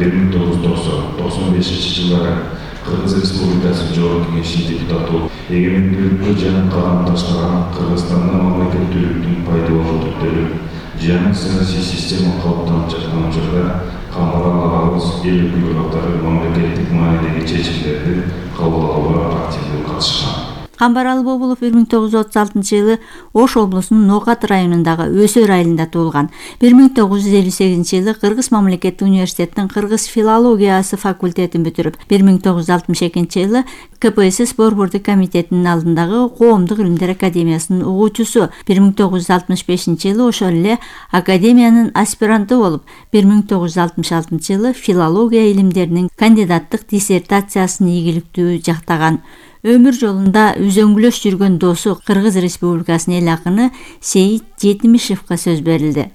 1995-жылдары Кыргыз Республикасы Жогорку Кеңешинин депутаты болуп, эгемендүүлүккө жан калам таштаган Кыргызстанда мамлекеттүүлүктүн пайдалуу түрдөрү жаңы саясий система калыптанып жаткан учурда Камбаралыбыз эл өкүлдөрү мамлекеттик маанидеги чечимдерди кабыл алууга активдүү катышкан. Камбаралы Бобулов 1936-жылы Ош облусунун Ноокат районундагы Өсөр айылында туулган. 1958-жылы Кыргыз мамлекеттик университетинин кыргыз филологиясы факультетин бүтүрүп, 1962-жылы КПСС Борбордук комитетинин алдындагы Коомдук илимдер академиясынын угуучусу, 1965-жылы ошол эле академиянын аспиранты болуп, 1966-жылы филология илимдеринин кандидаттык диссертациясын ийгиликтүү жактаган. Өмүр жолунда үзөңгүлөш жүргөн досу Кыргыз Республикасынын эл акыны Сейит Жетимишевге сөз берилди.